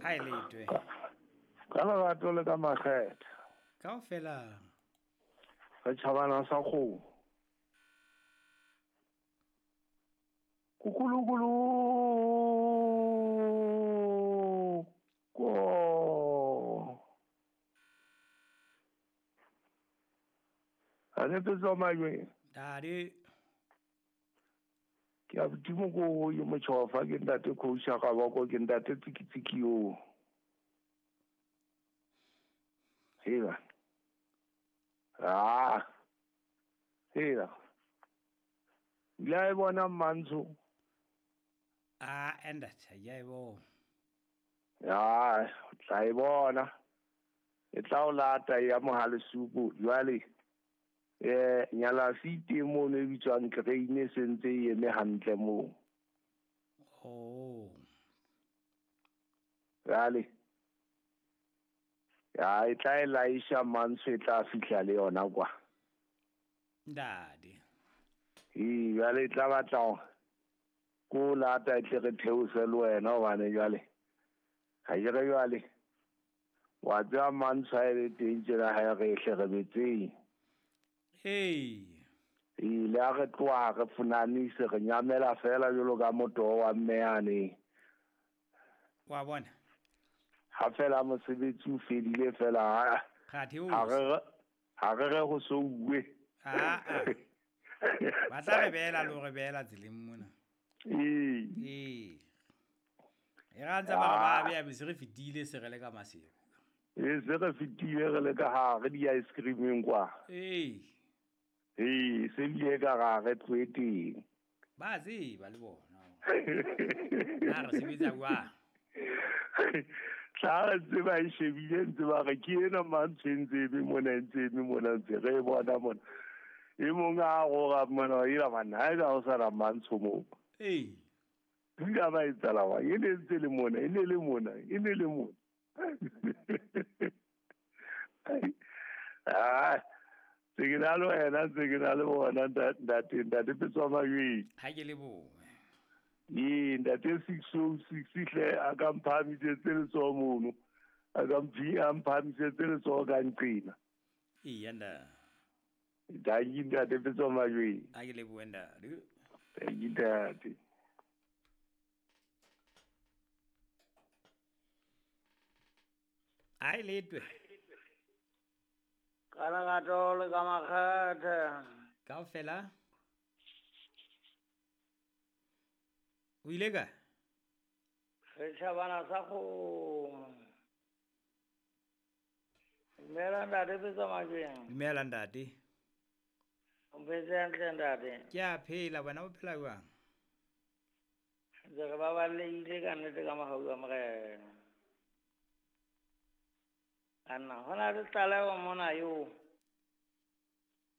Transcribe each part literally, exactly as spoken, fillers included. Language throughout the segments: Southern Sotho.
Ha e letwe. Ka lerato le ka makgethe. Kaofela. Re tjhabana sa kgomo. Kukulukulu. Ko. A ne tso majwe. Dadi. Ke a botimo ko yo motjhofa ke ntate coach ga ba ko ke ntate tsikitsiki yo. Hela. Ah. Hela. La e bona mantsho. Ah, enda ya e bona. Ya, tla e bona. E tla o lata ya mohale supu jwale. Eh nyala site mo ne bitswang crane e sentse e eme hantle mo. Oh. Jwale. Ya e tla e laisha mantsho e tla fihla le yona kwa. Ndadi. E jwale e tla batla ko lata e tle re theose le wena hobane jwale. Ha ke re jwale. Wa tseba mantsho ha e le teng tjena ha re hle re betseng. Hey. Ile a re tloha re funanise re nyamela fela jwalo ka motho wa mme yane. Wa bona. Ha fela mosebetsi o fedile fela ha re ha re re go so uwe. Ah. Ba tla re beela lo re beela tseleng mona. Ee. Ee. E ra ntse ba ba be be se re fetile se re le ka Maseru. E se re fetile re le ka ha re di ice creameng kwa. Ee. Ee, se bile ka ga re tloe teng. Ba tseba le bona. Na re sebetsa kwa. Tla re tseba e shebile ntse ba re ke ena mantsho e ntse eme mona e ntse eme mona ntse re e bona mona. E mong a roga mona e la bana ha e ka o sa ra mantsho mo. Ee. Nka ba etsala wa e ne ntse le mona e ne le mona e ne le mona. Ah. Se ke na le wena se ke na le bona ntate ntate Petswa Majweng. Ha ke lebohe. Ee ntate six oh six hle a ka mphamisetse letsoho mono. A ka mphi a mphamisetse letsoho ka nqina. Ee nda. Danki ntate Petswa Majweng. Ha ke lebohe ntate. Danki ntate. Ai letwe. Ka lerato le ka makgethe. Kaofela. O ile ka? Setjhabana sa kgomo. Dumela ntate Petswa Majweng. Dumela ntate. O phetse hantle ntate? Ke a phela, wena o phela jwang? Ntse re baballehile ka nnete ka mohau wa Morena. Anna, hona le tlaleho mona eo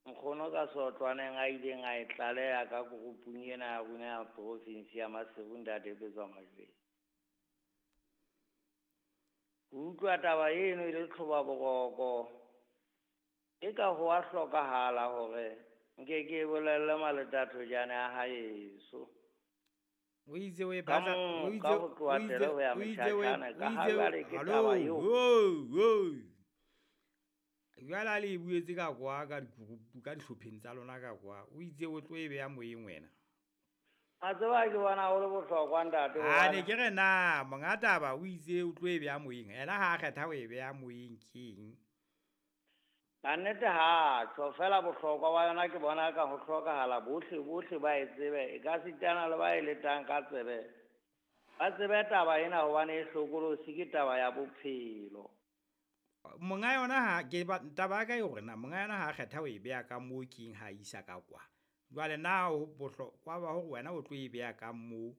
nkgono ka sotlwaneng a ileng a e tlaleha ka groupung ena ya rona ya province ya Maseru ntate Petswa Majweng. Ho utlwa taba eno e le tlhoba boroko. E ka ho a hlokahala hore nke ke bolelle maletathojane a haeso. O itse o e batla o itse o itse o itse o itse hallo wo jwale a le e buetse ka kwa ka digroup ka dihlopheng tsa lona ka kwa o itse o tlo e beya moyeng wena. A tseba ke bona ho le bohlokwa ntate. A ne ke re na monga taba o itse o tlo e beya moyeng ena ha a kgetha o e beya moyeng keng. Ka nnete ha tjho fela bohlokwa ba yona ke bona ka ho hlokahala bohle bohle ba e tsebe e ka sitana le ba e letang ka tsebe. Ba tsebe taba ena hobane e hlokolosi ke taba ya bophelo. Monga yona ha ke taba ka hore na monga yona ha kgetha o e beya ka moo keng ha isa ka kwa. Jwale na ho bohlokwa ba hore wena o tlo e beya ka moo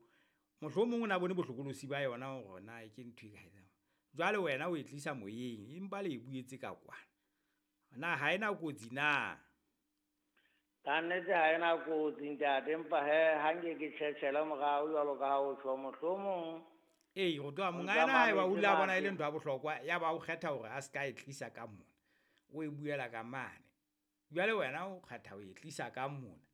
mohlomong o na bone bohlokolosi ba yona hore na ke ntho e kae. Jwale wena o e tlisa moyeng empa le e buetse ka kwa. Na ha ena kotsi na? Ka nnete ha ena kotsi ntate empa he ha nke ke tjhetjhele morao jwalo ka ha o tjho mohlomong. Ee, go tloha monga ena ha eba o ile a bona e le ntho ya bohlokwa ya ba o kgetha hore a se ka e tlisa ka mona. O e buela ka mane. Jwale wena o kgetha ho e tlisa ka mona.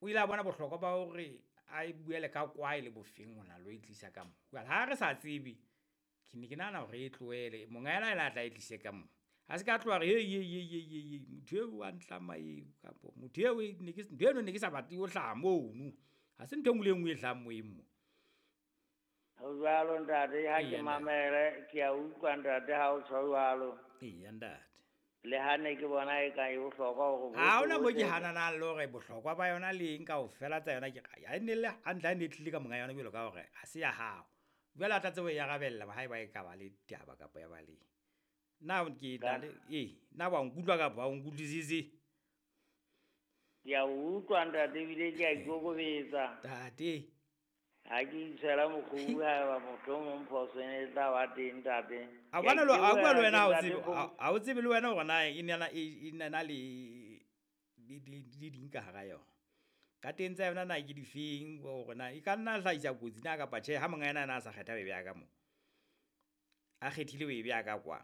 O ile a bona bohlokwa ba hore a e buele ka kwa e le bofeng hona lo e tlisa ka mona. Jwale ha re sa tsebe Ke ne ke nahana hore e tlohele monga yena ena a tla e tlise ka mo. Ha se ka tloha re hey hey hey hey hey hey motho eo wa ntlama eo kapo motho eo ne ke ntho eno ne ke sa batle ho hlaha mono. Ha se ntho e nngwe le e nngwe e hlahang moyeng mo. Ho jwalo ntate, ha ke Eya ntate. mamele ke a utlwa ntate ha o tjho jwalo. Eya ntate. Le ha ne ke bona e ka e bohlokwa hore Ha bohle hona mo ke bohle hananang le hore bohlokwa ba yona le eng kaofela tsa yona ke ha e ne le hantle ha e ne e tlile ka monga yona jwalo ka hore ha se ya hao. Jwale a tla tseba ho e arabella haeba e ka ba le taba kapa ya ba le. Na ke na ka le ee na wa nkutlwa kapa ha o nkutlwisise? Ke a utlwa ntate ebile ke a ikokobetsa. Ntate. Ha ke itshwela mokgubu haeba mohlomong phoso e ne e tla ba teng ntate. A Ke a bona le a bua le itebohela wena ha o ntate tsebe Phomolo. ha o tsebe le wena hore na e na e na le le le ding ka hara yona. Ka teng tsa yona na ke difeng hore na e ka nna hlahisa kotsi na kapa tjhe ha monga yena a na a sa kgetha ho e beha ka moo. A kgethile ho e beha ka kwa.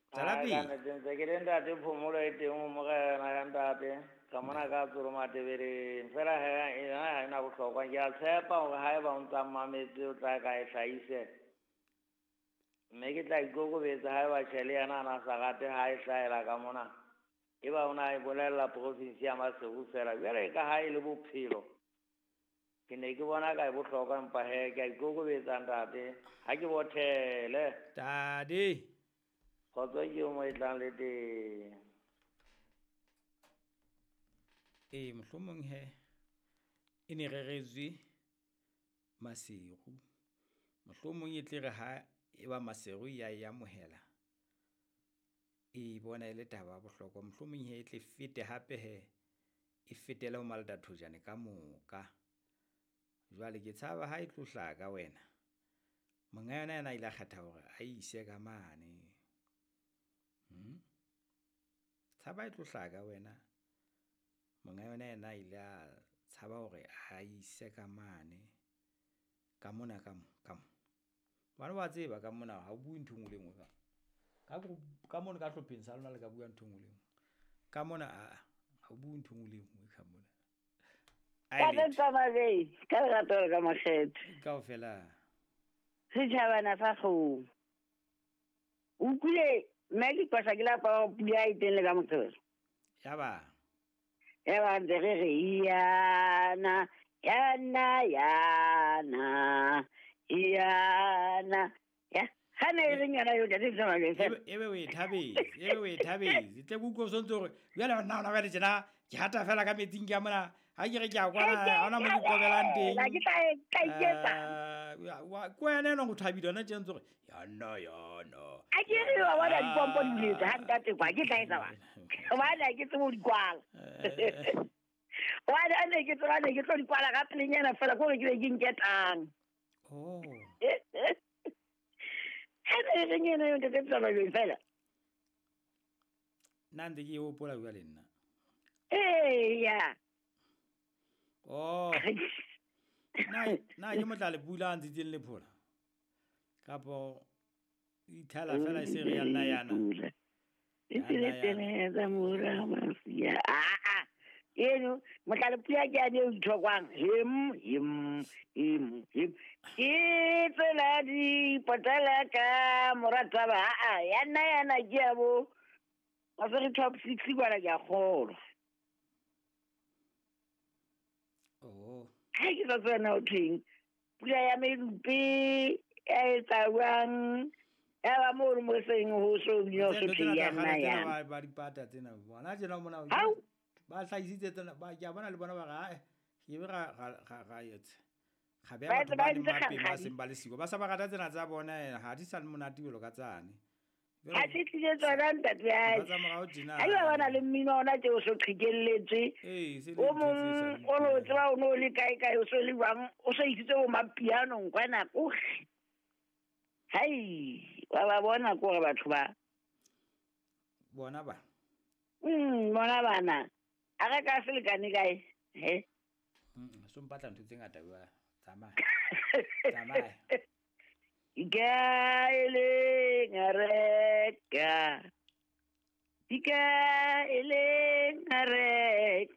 Tswela Ai ka pele. nnete ntse ke le ntate Phomolo e teng ho morena ya ntate. Ka mona ka Tsolo Matebeleng. Feela he yona ha ena bohlokwa. Ke a tshepa hore haeba o ntsa mmametse o tla ka e hlahise. Mme ke tla ikokobetsa haeba tjhe le yena a na sa rate ha e hlahela ka mona. Eba o na e bolella province ya Maseru feela. Jwale ka ha e le bophelo. Ke ne ke bona ka e bohlokwa empa he ke a ikokobetsa ntate. Ha ke bothele. Ntate. Kgotso ke eo mo e tlang le teng. Ee, mohlomong he e ne reretswe Maseru. Mohlomong e tle re ha e ba Maseru ya e amohela. E bona e le taba ya bohlokwa. Mohlomong he e tle fete hape he e fetele ho Malatathojane ka moka. Jwale ke tshaba ha e tlo hlaha ka wena. Monga yona yena a ile a kgetha hore a ise ka mane. Hmm? Tshaba e tlo hlaha ka wena. Monga yona yena a ile a tshaba hore a ise ka mane. Ka mona ka mo ka mo. Bana ba tseba ka mona ha o bue ntho e nngwe le e nngwe ka. Ka ka mona ka hlopheng sa lona le ka bua ntho e nngwe le e nngwe. Ka mona a ha o bue ntho e nngwe le e nngwe ka mona. Ka Ai letho. tsamabei, ka lerato le ka makgethe. Kaofela. Setjhabana sa kgomo. O utlwile mme ke kwasha ke lapa hore pula e teng le ka Moqebelo. Ya ba. Ya ba ntse re re yana, yana, yana, yana. Ya, ha ne e reng yona eo ntate Tsamabei Ebe ebe o e thabetse, ebe o e thabetse. Tle ke utlwe o sontse hore jwale nna hona jwale tjena ke hata fela ka metsing ke a mona. Ha ke re ke a kwana ha hona mo ke qobelang teng. Ke tla e tla iketsa. Eh, wa ke wena enwa o thabile hona tje ntse hore yana yana. A ke re wa bona dipompo di buletse ha ntate kwa ke tla etsa wa. Hobane ha ke tsebe ho di kwala. Hobane ha ne ke tseba ne ke tlo di kwala ka pelenyana fela ke hore ke be ke nketang. Oh. Ha ne e reng ena eo ntate Tsamabei fela. Nna ntse ke e hopola jwale nna. Eya. Oh. Na na ke motla le pula a ntshitseng lephola. Kapo ithala fela e se re ya nna yana. E tsele tsa mora mafia. Ah ah. Eno motla le pula ke ane o ithokwang. Hem hem hem hem. Ke tsela di potela ka morataba ah ah ya nna yana ke ya bo. Wa top six kwana ke a kgolwa. Oh. Ha ke sa tsena ho thweng. Pula ya medupe ya etsa jwang? Ya ba mo re mo seng ho so bino Tsena so ntho tsena ya tsa nna kgale ya. tsena ba ba dipata tsena. Bona tjena mona Hao. ba hlahisitse tsena ba ke a bona le bona ba re ae ke be ra ra ra ra etsa. Ga beha Ba batho etse ba ba leng entse mapeng ba kgakgadi. seng ba le siko. Ba sa ba rata tsena tsa bona eh, ha di sa le monate jwalo ka tsane. Ha se tlile tsona ntate ya. Ntho tsa morao tjena. Ha ba bona le mmino ona tje o so qhekelletswe. Ee, se le O ntho tse sa mong o no tseba o no le kae kae o so le jwang o so isitse bo mapianong kwana kohle. Hai, wa ba bona ko re batho ba. Bona ba. Mm, bona bana. A re ka selekane kae? He. Mm, so mpatla ntho tse ngata bua. Tsamaya. Tsamaya. Ikaeleng a reka. Ikaeleng a reka.